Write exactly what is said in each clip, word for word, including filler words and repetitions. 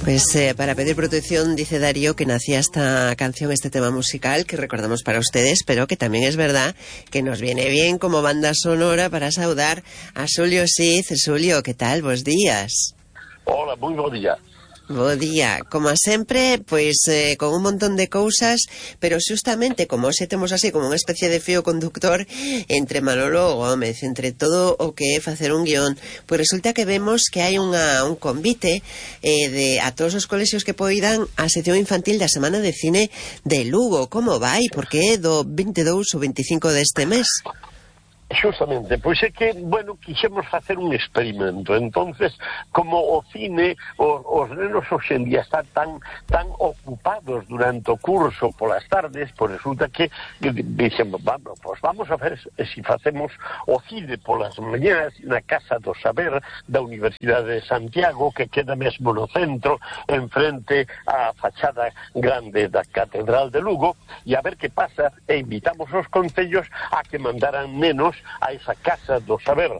Pues eh, para pedir protección dice Darío que nacía esta canción, este tema musical que recordamos para ustedes, pero que también es verdad que nos viene bien como banda sonora para saudar a Xulio Cid. Xulio, ¿qué tal? Bos días. Hola, moi bo día. Bo día. Como sempre, pois eh, con un montón de cousas, pero justamente como se temos así como unha especie de fío conductor entre Manolo Gómez, entre todo o que é facer un guión, pois resulta que vemos que hai unha, un convite eh, de a todos os colexios que poidan a sección infantil da Semana de Cine de Lugo. Como vai? Porque é do vinte e dous ou veinticinco deste mes. Justamente, pois é que, bueno, quixemos facer un experimento. Entonces, como o cine, os, os nenos hoxe en día están tan tan ocupados durante o curso polas tardes, pois resulta que, que dixemos, vamos, pois vamos a ver se facemos o cine polas mañás na Casa do Saber da Universidade de Santiago, que queda mesmo no centro, enfrente á fachada grande da Catedral de Lugo, e a ver que pasa, e invitamos os concellos a que mandaran nenos a esa Casa do Saber.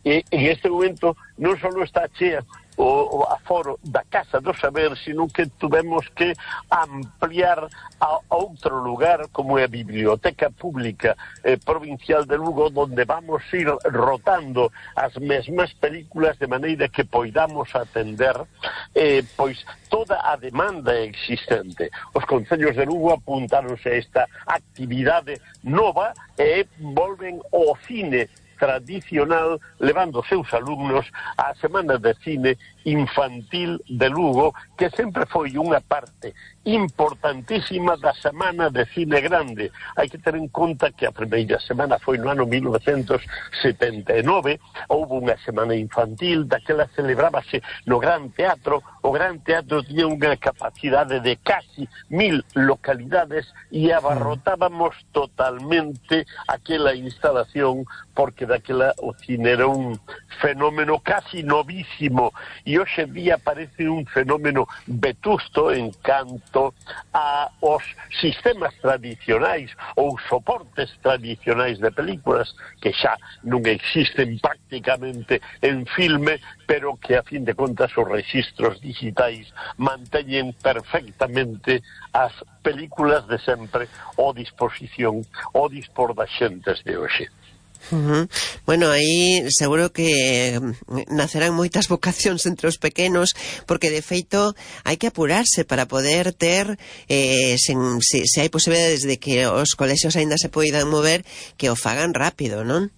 E en este momento non só está chea o, o aforo da Casa do Saber, sino que tuvemos que ampliar a, a outro lugar como é a Biblioteca Pública eh, Provincial de Lugo, donde vamos ir rotando as mesmas películas de maneira que poidamos atender eh, pois toda a demanda existente. Os concellos de Lugo apuntáronse a esta actividade nova e volven ao cine tradicional, levando seus alumnos á Semana de Cine Infantil de Lugo, que sempre foi unha parte importantísima da Semana de Cine Grande. Hai que ter en conta que a primeira semana foi no ano mil novecentos setenta e nove, houve unha semana infantil, daquela celebrábase no Gran Teatro. O Gran Teatro tiña unha capacidade de casi mil localidades e abarrotábamos totalmente aquela instalación, porque daquela o cine era un fenómeno casi novísimo e hoxe en día parece un fenómeno vetusto en canto a os sistemas tradicionais ou soportes tradicionais de películas que xa non existen prácticamente en filme, pero que a fin de contas os registros digitais manteñen perfectamente as películas de sempre ao disposición, ao dispor das xentes de hoxe. Uh-huh. Bueno, aí seguro que nacerán moitas vocacións entre os pequenos, porque de feito hai que apurarse para poder ter eh, sen, se, se hai posibilidades de que os colexios aínda se poidan mover, que o fagan rápido, non?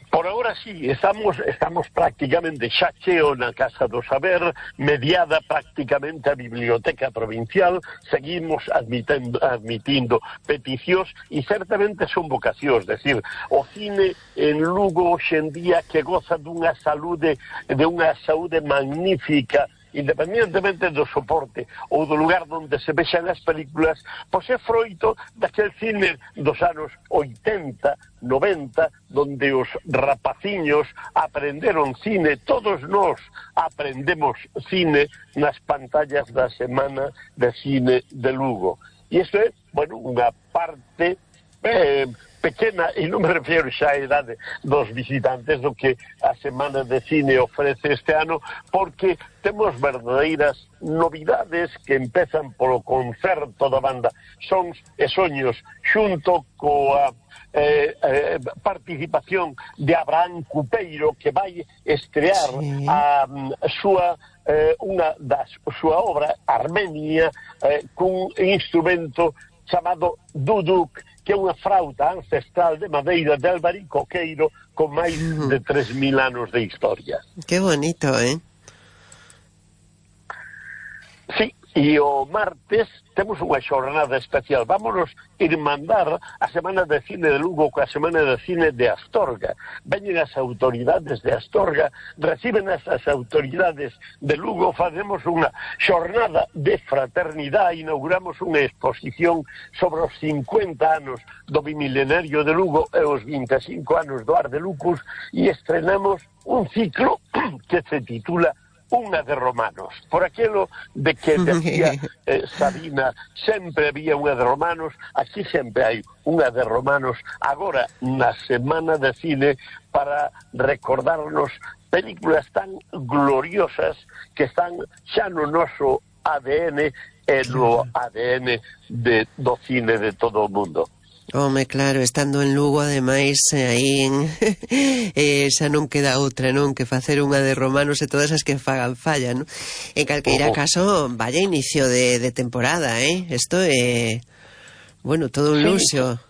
Por agora sí, estamos, estamos prácticamente xa cheo na Casa do Saber, mediada prácticamente a Biblioteca Provincial, seguimos admitindo, admitindo peticións e certamente son vocacións, decir, o cine en Lugo hoxe en día que goza dunha saúde, de unha saúde magnífica, independentemente do soporte ou do lugar onde se vexan as películas, pois é froito daquel cine dos anos oitenta, noventa, donde os rapaciños aprenderon cine. Todos nós aprendemos cine nas pantallas da Semana de Cine de Lugo. E isto é, bueno, unha parte eh, pequena, e non me refiero xa á idade dos visitantes do que a Semana de Cine ofrece este ano, porque temos verdadeiras novidades que empezan polo concerto da banda Sons e Soños, xunto coa eh, eh, participación de Abraham Cupeiro, que vai estrear sí. a, a súa eh, unha das súa obra, Armenia, eh, cun instrumento chamado duduk, que é unha frauta ancestral de madeira de albaricoqueiro con máis de tres mil anos de historia. Que bonito, eh? Sí, e o martes temos unha xornada especial. Vámonos irmandar a Semana de Cine de Lugo coa Semana de Cine de Astorga. Veñen as autoridades de Astorga, reciben as, as autoridades de Lugo, facemos unha xornada de fraternidade, inauguramos unha exposición sobre os cincuenta anos do bimilenario de Lugo e os vinte e cinco anos do Ar de Lucus, e estrenamos un ciclo que se titula Unha de Romanos, por aquilo de que decía eh, Sabina, sempre había unha de Romanos, aquí sempre hai unha de Romanos, agora na Semana de Cine, para recordarnos películas tan gloriosas que están xa no noso A D N e no A D N de, do cine de todo o mundo. Home, claro, estando en Lugo, ademais, eh, aí en, eh, xa non queda outra, non? Que facer unha de romanos e todas as que fagan falla, non? En calqueira caso, vaya inicio de, de temporada, eh? Isto é, bueno, todo un Sí. luxo.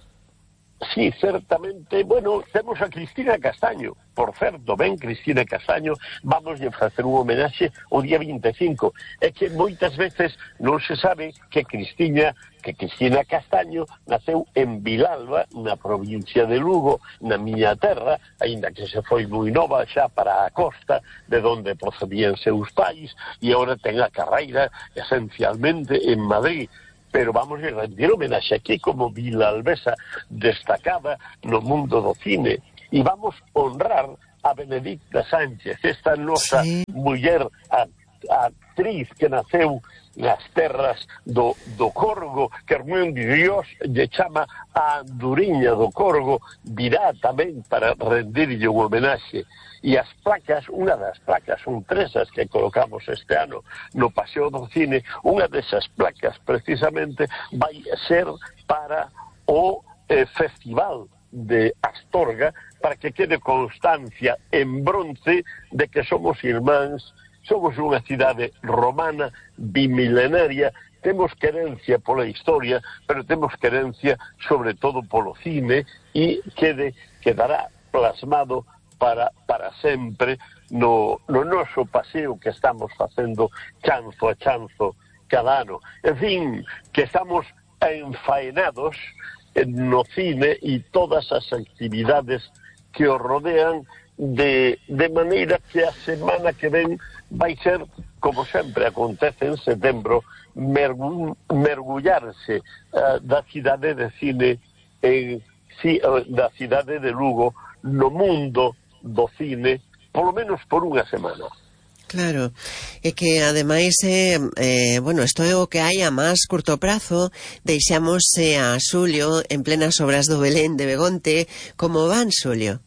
Sí, certamente, bueno, temos a Cristina Castaño, por certo, ben Cristina Castaño, vamos a facer un homenaxe o día vinte e cinco, é que moitas veces non se sabe que Cristina, que Cristina Castaño naceu en Vilalba, na provincia de Lugo, na miña terra, aínda que se foi moi nova xa para a costa, de onde procedían seus pais, e agora ten a carreira esencialmente en Madrid. Pero vamos a rendir homenaxe aquí como vilalbesa destacada no mundo do cine e vamos honrar a Benedicta Sánchez, esta nosa sí. muller, a, a actriz que naceu nas terras do, do Corgo, que Hermión Dios lle chama a Anduriña do Corgo, virá tamén para rendirlle un homenaxe. E as placas, unha das placas, son tres as que colocamos este ano no Paseo do Cine, unha desas placas precisamente vai ser para o eh, Festival de Astorga, para que quede constancia en bronce de que somos irmáns, somos unha cidade romana, bimilenaria, temos querencia pola historia, pero temos querencia sobre todo polo cine e quede, quedará plasmado para, para sempre no, no noso paseo que estamos facendo chanzo a chanzo cada ano. En fin, que estamos enfaenados no cine e todas as actividades que o rodean de, de maneira que a semana que ven vai ser, como sempre acontece en setembro, mergu mergullarse uh, da cidade de cine en, si, uh, da cidade de Lugo no mundo do cine, polo menos por unha semana. Claro, é que ademais eh, eh, bueno, isto é o que hai a máis curto prazo. Deixamos eh, a Xulio en plenas obras do Belén de Begonte. Como van, Xulio?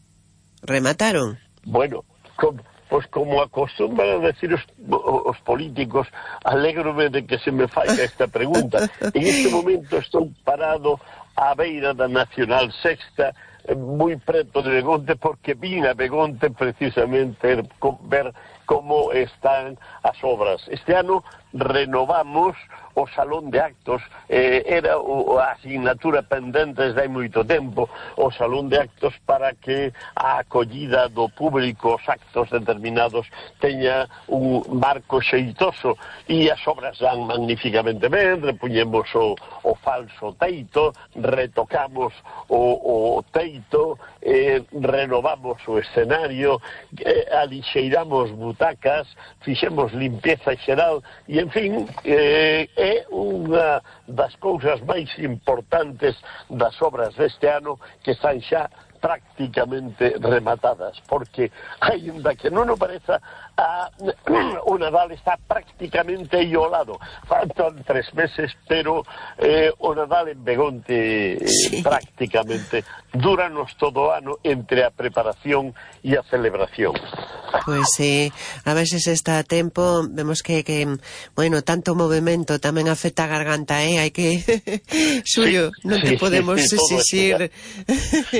Remataron? Bueno, como, pues como acostumbran a decir os, os políticos, alégrome de que se me faiga esta pregunta. En este momento estou parado á beira da Nacional Sexta, moi preto de Begonte, porque vin a Begonte precisamente ver como están as obras. Este ano renovamos o Salón de Actos, eh, era o, a asignatura pendente desde hai moito tempo, o Salón de Actos, para que a acollida do público, os actos determinados, teña un marco xeitoso, e as obras dan magníficamente ben, repuñemos o, o falso teito, retocamos o, o teito, eh, renovamos o escenario, eh, alixeiramos butacas, fixemos limpieza xeral, e en fin, eh, é unha das cousas máis importantes das obras deste ano, que están xa prácticamente rematadas, porque aínda que non o pareza, a, o Nadal está prácticamente aí ao lado. Faltan tres meses, pero eh, o Nadal en Begonte sí. prácticamente duranos todo o ano entre a preparación e a celebración. Pois sí, a veces está a tempo, vemos que, que bueno, tanto movimento tamén afecta a garganta, eh? Hai que... Xulio, sí, non te sí, podemos sí, exixir...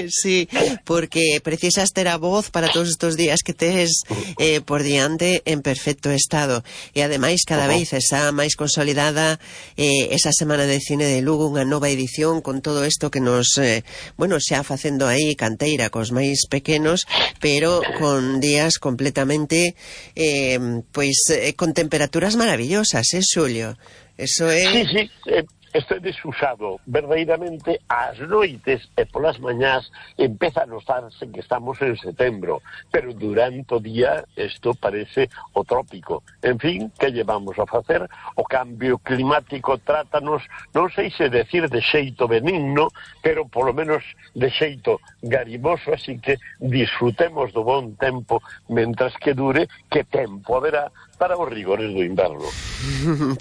Sí, porque precisas ter a voz para todos estos días que tes eh, por diante en perfecto estado. E ademais, cada uh -huh. vez está máis consolidada eh, esa Semana de Cine de Lugo, unha nova edición con todo isto que nos, eh, bueno, xa facendo aí canteira cos máis pequenos, pero con días completamente eh, pois eh, con temperaturas maravillosas, eh, Xulio? Eso é... Sí, sí, eh, este desusado, verdadeiramente, ás noites e polas mañás empeza a notarse que estamos en setembro, pero durante o día isto parece o trópico. En fin, que llevamos a facer? O cambio climático trátanos, non sei se decir de xeito benigno, pero polo menos de xeito garimoso, así que disfrutemos do bon tempo mentras que dure, que tempo haberá para os rigores do inverno.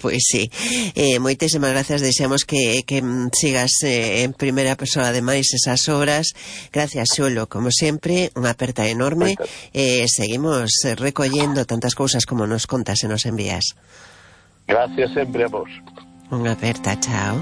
Pois sí, eh, moitísimas gracias, deseamos que, que sigas eh, en primeira persoa ademais esas obras. Gracias, Xolo, como sempre, unha aperta enorme, e eh, seguimos recollendo tantas cousas como nos contas e nos envías. Gracias sempre a vos. Unha aperta, chao.